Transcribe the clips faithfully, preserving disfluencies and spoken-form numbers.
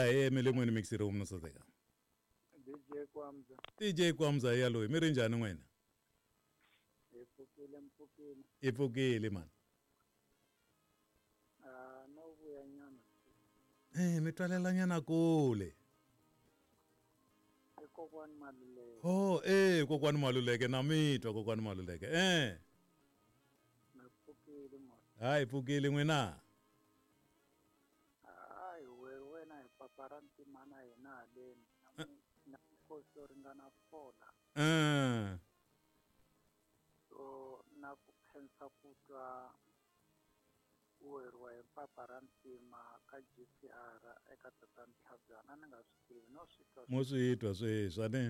Ya hi emilimweni mixi room no saseka. D J Kwamza. D J Kwamza ya loyi mi ri njhani n'wina? Hi pfukile mpfukile. I pfukile man. Ah no vuya nyana. Eh mi twalela nyana kule. I kokwani Maluleke. Oh eh kokwani Maluleke na mi twa kokwani Maluleke. Eh. Na pfukile mo. Hayi pfukile n'wina. Hayi we wena hi papa ra ntimana hina haleni. Na nkosi yo ringana fola. Eh. So na ku khensa ku twa u weriwa hi papa ra ntima ka G C R eka Tatana Tlhabyana ni nga swi tivi no swi twa. Mo swi twa sweswi a ni.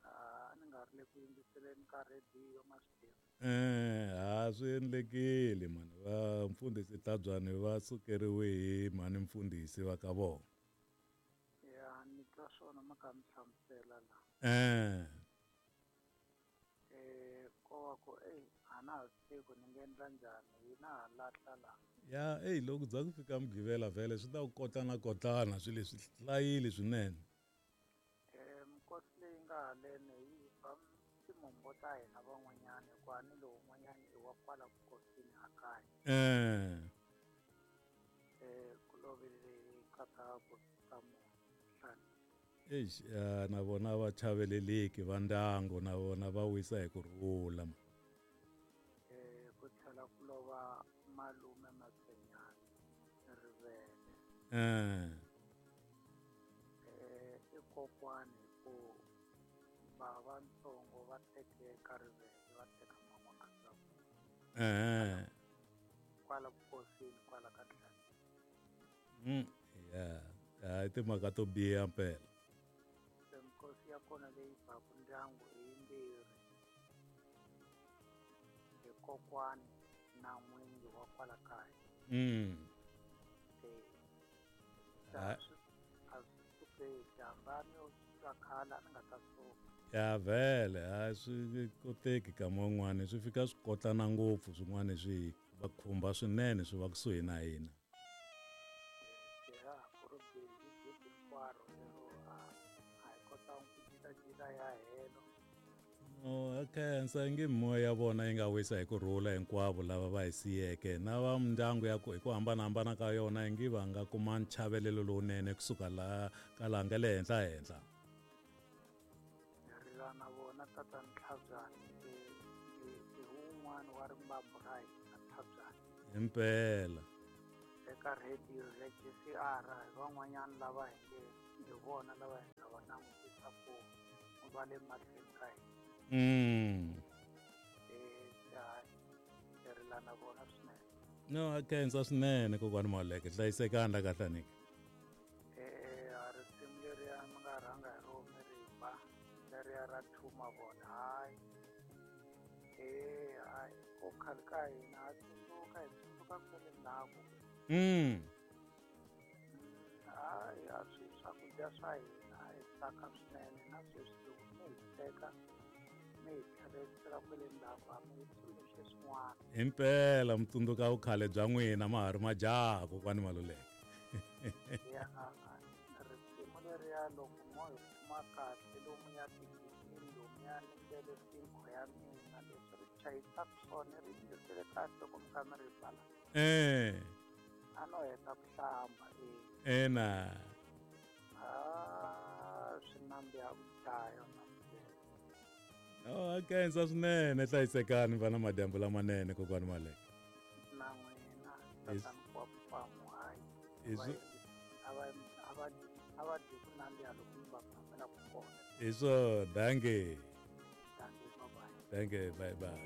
A ni nga ri le ku yingiseleni ka rhediyo ma swi tivi. Eh ha swi endlekile mani va mfundhisi Tlhabyana va sukeriwe hi mhani mfundhisi va ka vona. Ya ni twa swona ma ka mi hlamusela la. Eh. Eh ko wa ku ey a na ha swi tivi ku ni nga endla njhani hina ha lahla la. Ya ey loko za ku fika Mugqivela vhele swi ta ku kotlana kotlana swilo leswi hlayile swinene. Eh minkosi leyi nga haleni yi ba timombo ta hina van'wanyana hikuva ni lowun'wanyana i wa kwala vukosini a kaya. Eh. Eh ku lovile nkata ku ta muhlani. Eish ya na vona va chaveleleki va ndyangu na vona va wisa hi ku rhula. Eh ku tlhela ku lova malume Matsenyana Rivele. Eh. Eh i kokwani ku bava ntsongo va teke ka Rivele va teka man'wana. Eh. Kwala vukosini kwala ka Ntlhanu. Mm ya hayi timhaka to biha mpela. Se nkosi ya kona leyi baku ndyangu i yimbirhi. Hi kokwani na n'wingi wa kwala kaya. Mm. Eh. A swi sukeki hambani yo twa khale a ni nga ta suka. Ya vhele a swi koteki kama un'wana swi fika swi kotlana ngopfu swin'wana swi va khumba swinene swi va kusuhi na hina. Ya ku ri busy busy hinkwaro lero a a hi kotanga ku jikajika ya helo. No a khensa nge mimoya ya vona yi nga wisa hi ku rhula hinkwavo lava va hi siyeke na va mindyangu ya ku hi ku hambanahambana ka yona ingi va nga kuma nchavelelo lowunene kusuka laha ka laha nga le henhla henhla. Hi rila na vona Tatana Tlhabyana i i wun'wana wa rimbambu ra hina Tlhabyana. Himpela. Eka rhediyo ya G C R hi van'wanyana lava hi nge hi vona lava hi nga va langutisa ku va le mahlweni ka hina. Mm. Eh hi rila na vona swinene. No a khensa swinene kokwani Maluleke hlayisekani la kahle nyika. Eh a risimu leriya mi nga rhanga hi rona mi ri ba leriya ra thuma vona hayi. Eh hayi ko khale ka hina ha tsundzuka hi tsundzuka kwale ndzhaku. Mm. Hayi a swi swakudya swa hina hi tsaka swinene na sweswi loko mi hi teka mi hi tlherisela kwale ndzhaku a mi hi tsundzuxe swin'wana. Himpela mi tsundzuka vukhale bya n'wina ma ha ri majaha kokwani Maluleke. Ya risimu leriya loko mo hi kuma kahle lomuya tigigini lomuya ni ndlele tinkho ya mina leswi ri chayisaka swona ri yingisele kahle loko mi kha mi ri bala. Eh. A no heta ku hlamba e. Ena. Ah swi nandziha ku dlaya na. No a khensa swinene hlayisekani va na madyambu lamanene kokwani Maluleke. Na n'wina Tatana Kwamu hayi. A va a va a va dyi ku nandziha loko mi va phamela ku kona. Hi swona dankie. Dankie bye bye. Dankie bye bye.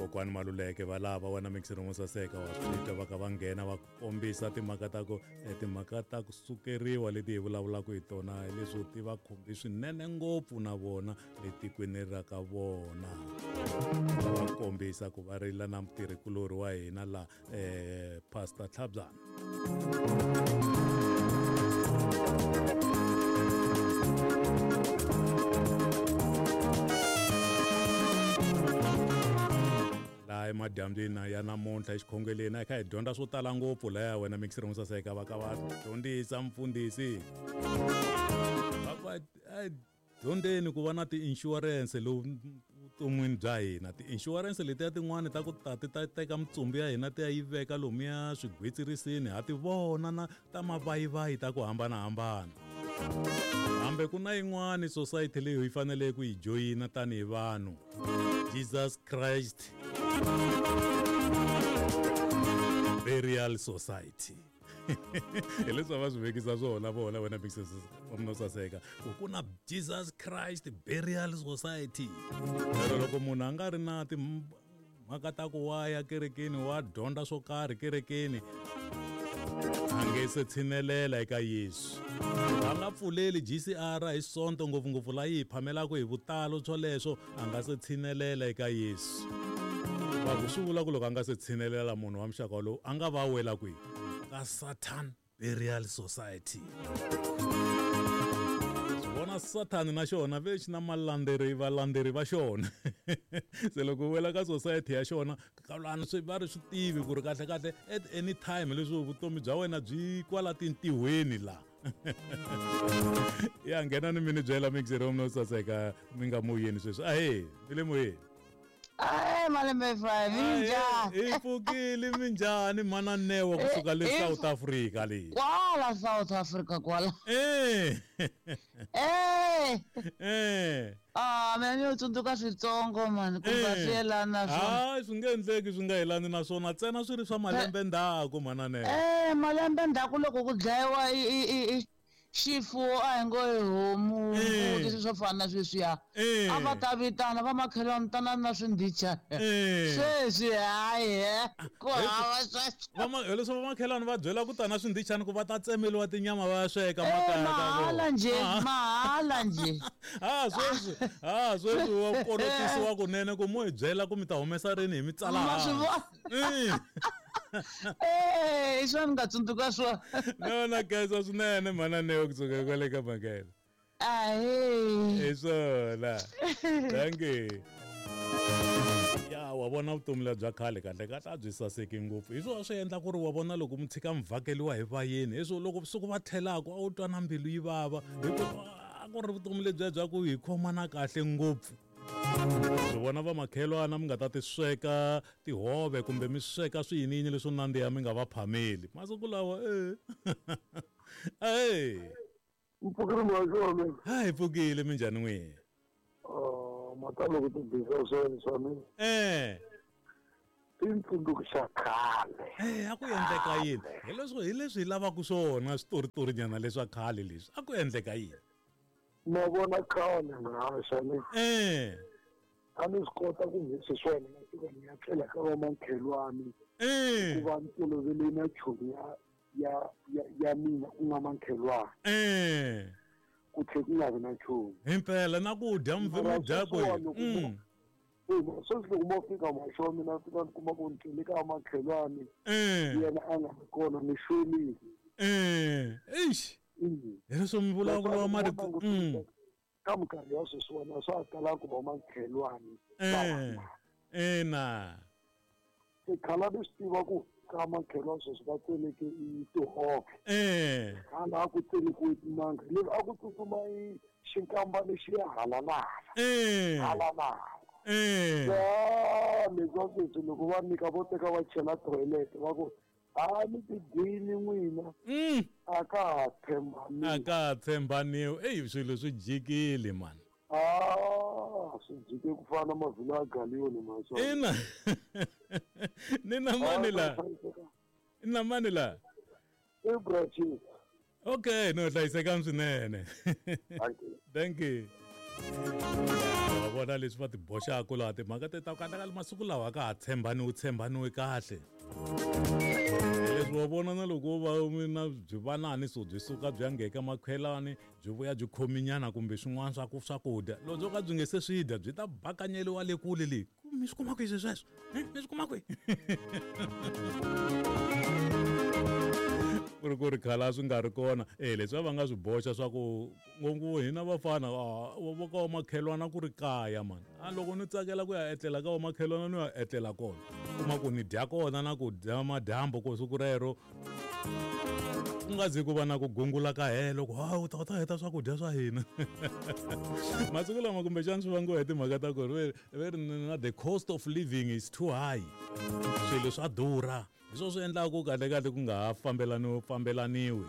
Kokwani Maluleke va lava wena mixi room saseka wa swi twa va ka va nghena va kombisa timhaka ta ku timhaka ta ku sukeriwa leti hi vulavulaka hi tona leswo ti va khumbi swinene ngopfu na vona le tikweni ra ka vona. Va kombisa ku va rila na mutirhikulori wa hina la eh Pastor Tlhabyana. Laha emadyambyini ya namuntlha exikhongeleni a hi kha hi dyondza swo tala ngopfu laya wena mixer mo saseka va ka va dyondzisa mfundhisi va ku a dyondzeni ku va na ti-insurance lowu vuton'wini bya hina ti-insurance letiya tin'wani ta ku ta ti ta teka mitsumbu ya hina ti ya yi veka lomuya swigwitsirisini ha ti vona na ta mavayivayi ta ku hambanahambana hambe ku na yin'wani society leyi hi faneleke ku yi joyina tanihi vanhu Jesus Christ Burial Society hi leswi va swi vekisa swona vona wena mno saseka ku ku na Jesus Christ Burial Society lero loko munhu a nga ri na timhaka ta ku wa ya kerekeni wa dyondza swo karhi kerekeni a nge se tshinelela eka Yesu a nga pfuleli G C R hi Sonto ngopfungopfu laha yi hi phamelaka hi vutalo swoleswo a nga se tshinelela eka Yesu va ku swi vula ku loko a nga se tshinelela munhu wa muxaka lowu a nga va wela kwihi ka Satan Burial Society swi vona Satan na xona ve xi na malandzeri valandzeri va xona se loko u wela ka society ya xona kalani swi va ri swi tivi ku ri kahle kahle at any time leswi vutomi bya wena byi kwala tintihweni la ya nghena ni mi ni byela mixer no saseka mi nga moyeni sweswi ahe mi le moyeni Ay, malembe five, minjhani? Hi pfukile minjhani mana Newa kusuka le South Africa le. Kwala South Africa kwala. Eh. Eh. Eh. Ah, mina ni tsundzuka switsongo man, ku nga swi yelani na swona. Hayi, swi nge endleki swi nga yelani na swona, ntsena swi ri swa malembe ndzhaku mana Newa. Eh, malembe ndzhaku loko ku dlayiwa i i i xifuwo a hi ngo hi homu mbuti swilo swo fana na sweswiya a va ta vitana va makhelwani tana na swindhichana sweswi hayi ku hava sweswo hileswo va makhelwani va byela ku tana swindhichana ku va ta tsemeliwa tinyama va ya sweka makaya mahala njhe mahala njhe ha sweswi ha sweswi wa korotisiwa kunene ku mo hi byela ku mi ta humesa rini hi mi tsala hansi Eh, swa ni nga tsundzuka swona no na khensa swinene mhana Newa kusuka kwale ka Makela ahe hi swona thank you ya wa vona vutomi lebya khale kahle kahle a byi saseki ngopfu hi swona swi endla ku ri wa vona loko mi tshika mi vhakeliwa hi vayeni hi swo loko siku va tlhelaka a wu twa na mbilu yi vava hikuva a ku ri vutomi lebyiya bya ku hi khomana kahle ngopfu swi vona vamakhelwana mi nga ta ti sweka tihove kumbe mi sweka swiyiniyini leswo nandziha mi nga va phameli masiku lawa e e mpfukile mhaka ha hi pfukile minjhani n'wina mhaka loko ti bisa swona swa mina eh i ntsundzuko khale eh a ku endleka yini hi leswi hi leswi hi lavaka swona switoritorinyana leswa khale leswi a ku endleka yini ma vona khale mhaxa eh a ni swi kota ku hi swona na fika ni ya tlela ka vamakhelwani eh ku va ni tolovele na chomi ya ya ya ya mina ku nga makhelwani eh ku tlhe ku nga vi na nchumu himpela na ku dya mi dya ku mm sweswi loko mo fika maxo mina fika ni kuma ku ni tlele ka makhelwani yena a nga ri kona ni xolile eh eish hi leswo mi vulavula marito ka minkarhi ya sweswiwani swa ha tala ku va makhelwani eh ina se khala ni swi tiva ku ka makhelwani sweswi va tseleke i tihove eh hala a ku tselekiwe timanga leswi a ku tsutsuma i xinkambana xi ya halalala eh halalala eh leswa sweswi loko va nyika vo teka va chela toilet va ku a mi tidyini n'wina a ka ha tshembaniwi a ka ha tshembaniwi eyi swilo swi jikile mani a swi jike ku fana na mavhilo ya galiyoni maswa ina ni na mani la ni na mani la i brachis okay no hlayisekani swinene thank you wa vona leswi va ti boxaka laha timhaka te ta kahle kahle masiku lawa a ka ha tshembaniwi tshembaniwi kahle leswi wa vona na loko va na byi vanani so byi suka byi ya ngheka makhelwani byi vuya byi khominyana kumbe swin'wana swa ku swakudya loko byo ka byi nge se swi dya byi ta bakanyeliwa le kule le mi swi kuma kwihi swi sweswo mi swi kuma kwihi ku ri ku ri khale a swi nga ri kona e leswi va va nga swi boxa swa ku ngopfu hina vafana vo ka vamakhelwana ku ri kaya mani a loko ni tsakela ku ya etlela ka vamakhelwana ni ya etlela kona kuma ku ni dya kona na ku dya madyambu ko siku rero ku nga zi ku va na ku gungula ka helo ku hawu ta ta heta swakudya swa hina masiku lama kumbexana swi vangiwa hi timhaka ta ku ri ve ri na the cost of living is too high swilo swa durha hi swona swi endlaka ku kahle kahle ku nga ha fambelani fambelaniwi